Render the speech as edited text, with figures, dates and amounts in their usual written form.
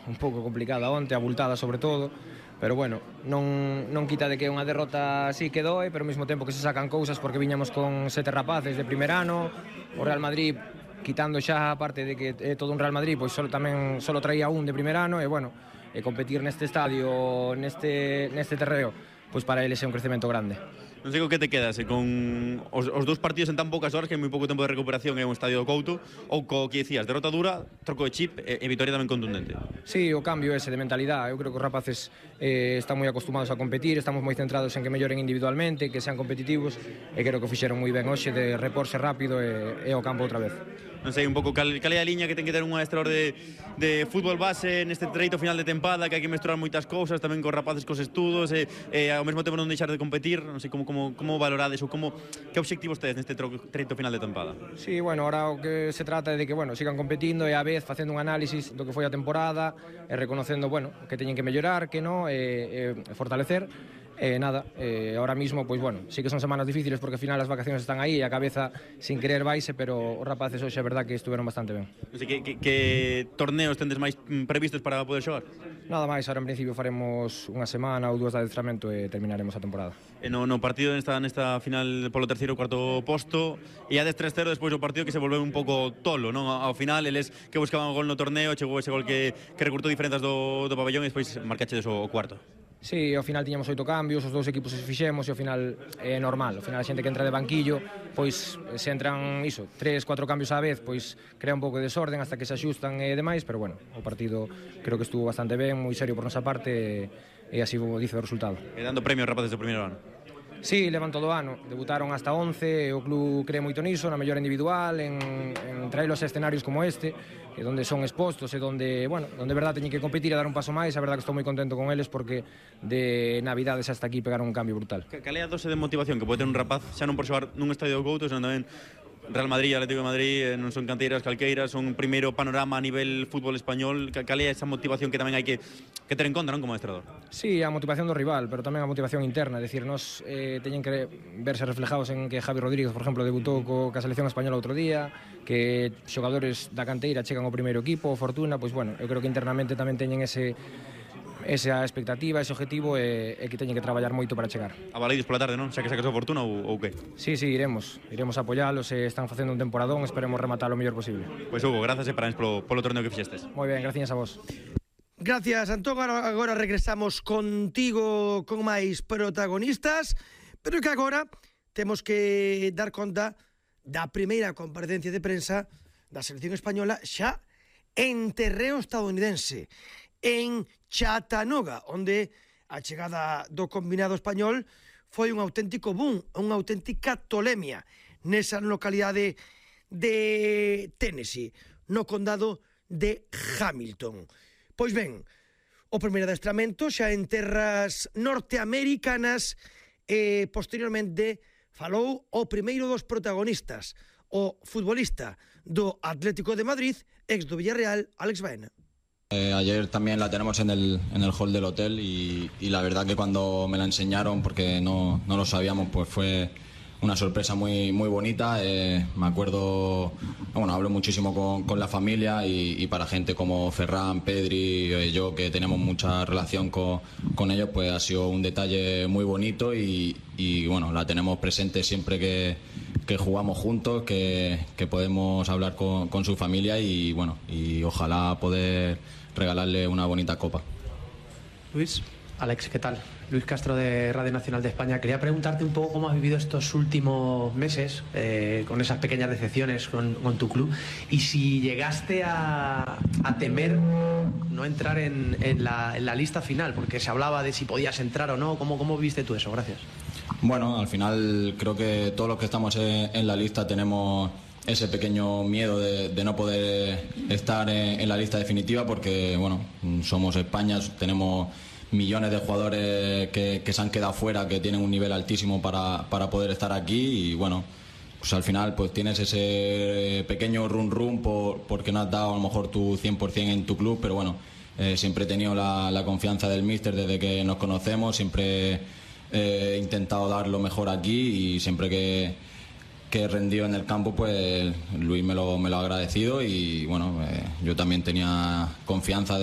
un pouco complicada onte, abultada sobre todo, pero bueno, non quita de que é unha derrota así que doe, pero ao mesmo tempo que se sacan cousas porque viñamos con 7 rapaces de primer ano, o Real Madrid quitando xa a parte de que é todo un Real Madrid, pois solo traía un de primer ano, e bueno, competir neste estadio, neste terreo, pois para eles é un crecemento grande. Non sei co que te quedas, con os dous partidos en tan poucas horas, que hai moi pouco tempo de recuperación en un estadio do Couto, ou co que dicías, derrota dura, troco de chip e vitoria tamén contundente. Sí, o cambio ese de mentalidade. Eu creo que os rapaces están moi acostumados a competir, estamos moi centrados en que melloren individualmente, que sean competitivos, e creo que o fixeron moi ben hoxe de reporse rápido e ao campo outra vez. Non sei un pouco cal é a liña que ten que ter un adestrador de fútbol base neste treito final de tempada, que hai que mesturar moitas cousas, tamén cos rapaces cos estudos, e ao mesmo tempo non deixar de competir. Non sei como valorades ou que obxectivos tedes neste treito final de tempada? Sí, bueno, ahora o que se trata é de que, bueno, sigan competindo e a vez facendo un análisis do que foi a temporada e reconocendo, bueno, que teñen que mellorar, que non, e fortalecer. Nada, ahora mismo, pois bueno, sí que son semanas difíciles porque ao final as vacaciones están aí e a cabeza sin querer vaise, pero os rapaces hoxe é verdad que estuveron bastante ben. Non sei, que torneos tendes máis previstos para poder xogar? Nada máis, ahora en principio faremos unha semana ou dúas de adestramento e terminaremos a temporada. No partido nesta final polo terceiro ou cuarto posto, e a 3-0 despois do partido que se volveu un pouco tolo, non? Ao final, eles que buscaban o gol no torneo, chegou ese gol que recurtou diferenzas do pabellón e despois marcachedes o cuarto. Sí, ao final tiñamos 8 cambios, os dous equipos se fixemos e ao final é normal. Ao final a xente que entra de banquillo, pois se entran 3-4 cambios á vez, pois crea un pouco de desorden hasta que se axustan e demais, pero bueno, o partido creo que estuvo bastante ben, moi serio por nosa parte e así dice o resultado. E dando premio aos rapaces do primeiro ano? Sí, levan todo o ano, debutaron hasta 11 e o club cree moito niso, na mellora individual, en traelos a escenarios como este, donde son expostos e donde, bueno, donde verdad teñen que competir e dar un paso máis. A verdad que estou moi contento con eles porque de Navidades hasta aquí pegaron un cambio brutal. Cal é a dose de motivación que pode ter un rapaz, xa non por xogar nun estadio do Couto, senón tamén Real Madrid, Atlético de Madrid, non son canteiras calqueiras, son un primeiro panorama a nivel fútbol español? Cal é esa motivación que tamén hai que ter en conta, non, como adestrador? Sí, a motivación do rival, pero tamén a motivación interna, é dicir, nos teñen que verse reflejados en que Javi Rodríguez, por exemplo, debutou ca selección española outro día, que xogadores da canteira chegan ao primeiro equipo, Fortuna, pois bueno, eu creo que internamente tamén teñen esa expectativa, ese objetivo e que teñen que traballar moito para chegar. A Baleidos pola tarde, non? Xa que sacas a Fortuna ou que? Sí, iremos a apoialos, están facendo un temporadón, esperemos rematar o mellor posible. Pois Hugo, grazas e parabéns polo torneo que fixestes. Moi ben, gracias a vos. Gracias, Antón. Agora regresamos contigo con máis protagonistas, pero que agora temos que dar conta da primeira comparecencia de prensa da selección española xa en terreo estadounidense, en Chattanooga, onde a chegada do combinado español foi un auténtico boom, unha auténtica tolemia nesa localidade de Tennessee, no condado de Hamilton. Pois ben, o primeiro adestramento xa en terras norteamericanas e posteriormente falou o primeiro dos protagonistas, o futbolista do Atlético de Madrid, ex do Villarreal, Alex Baena. Ayer también la tenemos en el hall del hotel y la verdad que cuando me la enseñaron, porque no lo sabíamos, pues fue una sorpresa muy bonita. Me acuerdo, bueno, hablo muchísimo con la familia y para gente como Ferran, Pedri, yo que tenemos mucha relación con ellos, pues ha sido un detalle muy bonito y bueno, la tenemos presente siempre que jugamos juntos, que podemos hablar con su familia y bueno, y ojalá poder regalarle una bonita copa. Luis, Alex, ¿qué tal? Luis Castro de Radio Nacional de España. Quería preguntarte un poco cómo has vivido estos últimos meses con esas pequeñas decepciones con tu club y si llegaste a temer no entrar en la lista final, porque se hablaba de si podías entrar o no. ¿Cómo viste tú eso? Gracias. Bueno, al final creo que todos los que estamos en la lista tenemos ese pequeño miedo de no poder estar en la lista definitiva porque, bueno, somos España, tenemos millones de jugadores que se han quedado fuera, que tienen un nivel altísimo para poder estar aquí y, bueno, pues al final pues tienes ese pequeño run porque no has dado a lo mejor tu 100% en tu club, pero bueno, siempre he tenido la confianza del míster desde que nos conocemos, siempre he intentado dar lo mejor aquí y siempre que he rendido en el campo, pues Luis me lo ha agradecido y bueno, yo también tenía confianza de